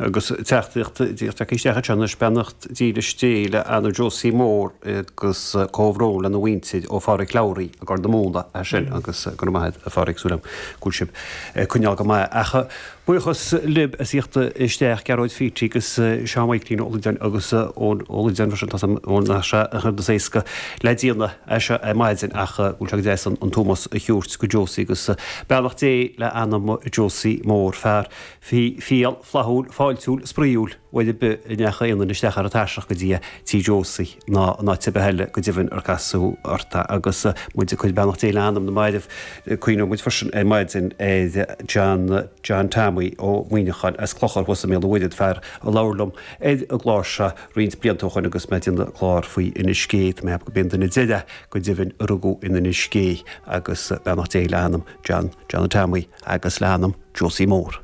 Agus teachtaireacht díreach tagtha isteach anseo anois, beannacht dílis Dé le anam Josie Mór agus comhbhrón lena mhuintir ó Pháraic Lowry i gCorr na Móna é sin agus go raibh maith agat a Pháraic, súil agam go bhfuil sibh ag coinneáil go maith. Ach buíochas libh as theacht isteach, Gearóid Fearty agus Seán Mhaidhcilín Ó Loideáin agus Eoin Ó Loideáin freisin, tá 's agam nach sé an rud is éasca le déanamh é seo ar maidin ach go bhfuil sé go deas an t-ómós a thabhairt go Josie agus beannacht Dé le anam Josie Mór, fear fial, flaithiúil, fáiltiúil, spraíúil, uair ar bith a ndeachaigh aon duine isteach ar an tairseach go dtí tí Josie ná in áit ar bith eile go deimhin ar casadh ort é agus muid ag cur beannacht Dé le anam na mairbh cuimhneoidh muid freisin ar maidin ar John John Tommy Ó Muíneacháin as Clochar thuas i mBéal an Mhuirthead, fear a labhair liom ar an gclár seo roinnt blianta ó shoin agus mé ag déanamh clár faoi Inis Gé. Tá mé ag ceapadh go b'é an duine deireadh go deimhin a rugadh in Inis Gé agus beannacht Dé le anam John John Tommy agus le anam Josie Mór.